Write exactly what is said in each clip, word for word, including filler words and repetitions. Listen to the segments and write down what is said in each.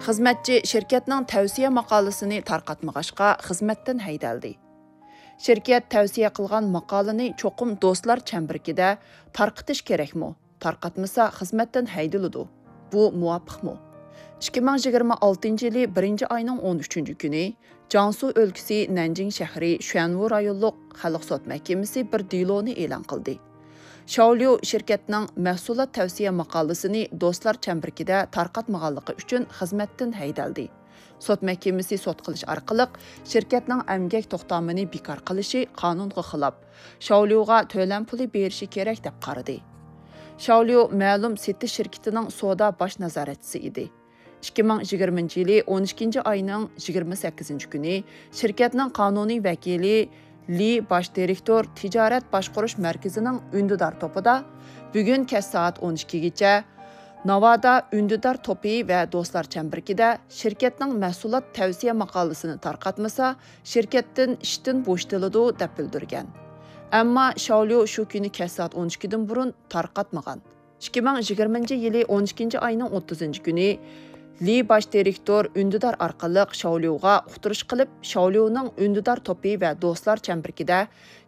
خىزمەتچى شىركەتنىڭ تەۋسىيە ماقالىسىنى تارقاتمىغاچقا، خىزمەتتىن ھەيدەلدى. شىركەت تەۋسىيە قىلغان ماقالىنى چوقۇم دوستلار چەمبىرىكىدە تارقىتىش كېرەكمۇ؟ تارقاتمىسا، خىزمەتتىن ھەيدىلىدۇ. بۇ مۇۋاپىقمۇ؟ ئىككى مىڭ يىگىرمە ئالتىنچى يىلى بىرىنچى ئاينىڭ ئون ئۈچىنچى كۈنى جياڭسۇ ئۆلكىسى نەنجىڭ شەھىرى شۈەنۋۇ رايونلۇق خەلق سوت مەھكىمىسى بىر دېلونى ئېلان قىلدى. شاۋليۇ شىركەتنىڭ مەھسۇلات تەۋسىيە ماقالىسىنى دوستلار چەمبىرىكىدە تارقاتمىغانلىقى ئۈچۈن خىزمەتتىن ھەيدەلدى. سوت مەھكىمىسى سوت قىلىش ئارقىلىق شىركەتنىڭ ئەمگەك توختامىنى بىكار قىلىشى قانۇنغا خىلاپ، شاۋليۇغا تۆلەم پۇلى بېرىشى كېرەك دەپ قارىدى. شاۋليۇ مەلۇم سېتىش شىركىتىنىڭ سودا باش نازارەتچىسى ئىدى. ئىككى مىڭ يىگىرمىنچى يىلى ئون ئىككىنچى ئاينىڭ يىگىرمە سەككىزىنچى كۈنى شىركەتنىڭ قانۇنىي ۋەكىلى لى باش دىرېكتور تىجارەت باشقۇرۇش مەركىزىنىڭ ئۈندىدار توپىدا بۈگۈن كەچ سائەت ئون ئىككىگىچە ناۋادا ئۈندىدار توپى ۋە دوستلار چەمبىرىكىدە شىركەتنىڭ مەھسۇلات تەۋسىيە ماقالىسىنى تارقاتمىسا، شىركەتتىن ئىشتىن بوشىتىلىدۇ، دەپ بىلدۈرگەن. ئەمما شاۋليۇ شۇ كۈنى كەچ سائەت ئون ئىككىدىن بۇرۇن تارقاتمىغان. ئىككى مىڭ يىگىرمىنچى يىلى ئون ئىككىنچى ئاينىڭ ئوتتۇزىنچى كۈنى لى باش دىرېكتور ئۈندىدار ئارقىلىق شاۋليۇغا ئۇقتۇرۇش قىلىپ، شاۋليۇنىڭ ئۈندىدار توپى ۋە دوستلار چەمبىرىكىدە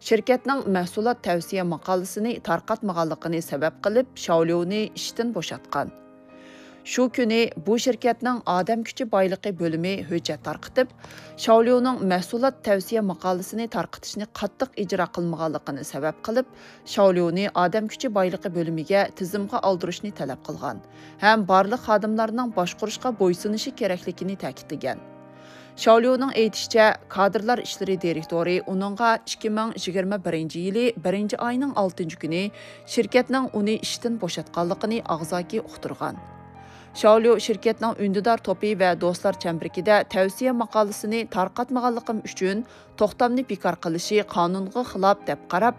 شىركەتنىڭ مەھسۇلات تەۋسىيە ماقالىسىنى تارقاتمىغانلىقىنى سەۋەب قىلىپ، شاۋليۇنى ئىشتىن بوشاتقان. شۇ كۈنى بۇ شىركەتنىڭ ئادەم كۈچى بايلىقى بۆلۈمى ھۆججەت تارقىتىپ، شاۋليۇنىڭ مەھسۇلات تەۋسىيە ماقالىسىنى تارقىتىشنى قاتتىق ئىجرا قىلمىغانلىقىنى سەۋەب قىلىپ، شاۋليۇنى ئادەم كۈچى بايلىقى بۆلۈمىگە تىزىمغا ئالدۇرۇشنى تەلەپ قىلغان ھەم بارلىق خادىملارنىڭ باشقۇرۇشقا بويسۇنۇشى كېرەكلىكىنى تەكىتلىگەن. شاۋليۇنىڭ ئېيتىشىچە، كادىرلار ئىشلىرى دىرېكتورى ئۇنىڭغا ئىككى مىڭ يىگىرمە بىرىنچى يىلى بىرىنچى ئاينىڭ ئالتىنچى كۈنى شىركەتنىڭ ئۇنى ئىشتىن بوشاتقانلىقىنى ئاغزاكى ئۇقتۇرغان. شاۋليۇ شىركەتنىڭ ئۈندىدار توپى ۋە دوستلار چەمبىرىكىدە تەۋسىيە ماقالىسىنى تارقاتمىغانلىقىم ئۈچۈن توختامنى بىكار قىلىشى قانۇنغا خىلاپ دەپ قاراپ،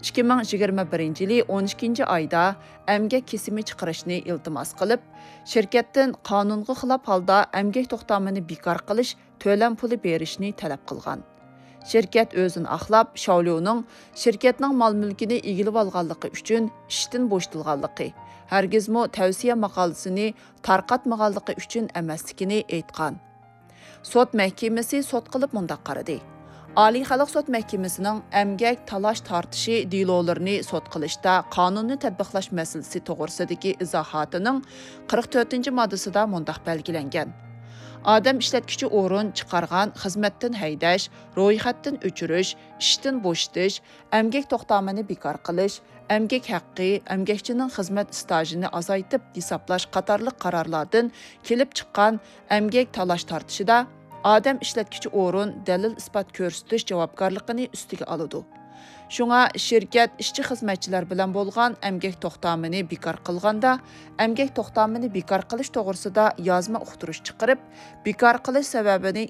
ئىككى مىڭ يىگىرمە بىرىنچى يىلى ئون ئىككىنچى ئايدا ئەمگەك كېسىمى چىقىرىشنى ئىلتىماس قىلىپ، شىركەتتىن قانۇنغا خىلاپ ھالدا ئەمگەك توختامىنى بىكار قىلىش تۆلەم پۇلى بېرىشنى تەلەپ قىلغان. شىركەت ئۆزىنى ئاقلاپ، شاۋليۇنىڭ شىركەتنىڭ مال-مۈلكىنى ئىگىلىۋالغانلىقى ئۈچۈن ئىشتىن بوشىتىلغانلىقى، ھەرگىزمۇ تەۋسىيە ماقالىسىنى تارقاتمىغانلىقى ئۈچۈن ئەمەسلىكىنى ئېيتقان. سوت مەھكىمىسى سوت قىلىپ مۇنداق قارىدى. ئالىي خەلق سوت مەھكىمىسىنىڭ ئەمگەك تالاش تارتىشى دېلولىرىنى سوت قىلىشتا قانۇننى تەتبىقلاش مەسىلىسى توغرىسىدىكى ئىزاھاتىنىڭ قىرىق تۆتىنچى ماددىسىدا مۇنداق بەلگىلەنگەن: ئادەم ئىشلەتكۈچى ئورۇن چىقارغان خىزمەتتىن ھەيدەش، رويخەتتىن ئۆچۈرۈش، ئىشتىن بوشىتىش، ئەمگەك توختامىنى بىكار قىلىش، ئەمگەك ھەققى، ئەمگەكچىنىڭ خىزمەت ئىستاژىنى ئازايتىپ ھېسابلاش قاتارلىق قارارلاردىن كېلىپ چىققان ئەمگەك تالاش تارتىشىدا ئادەم ئىشلەتكۈچى ئورۇن دەلىل-ئىسپات كۆرسىتىش جاۋابكارلىقىنى ئۈستىگە ئالىدۇ. شۇڭا شىركەت ئىشچى-خىزمەتچىلەر بىلەن بولغان ئەمگەك توختامىنى بىكار قىلغاندا، ئەمگەك توختامىنى بىكار قىلىش توغرىسىدا يازما ئۇقتۇرۇش چىقىرىپ، بىكار قىلىش سەۋەبىنى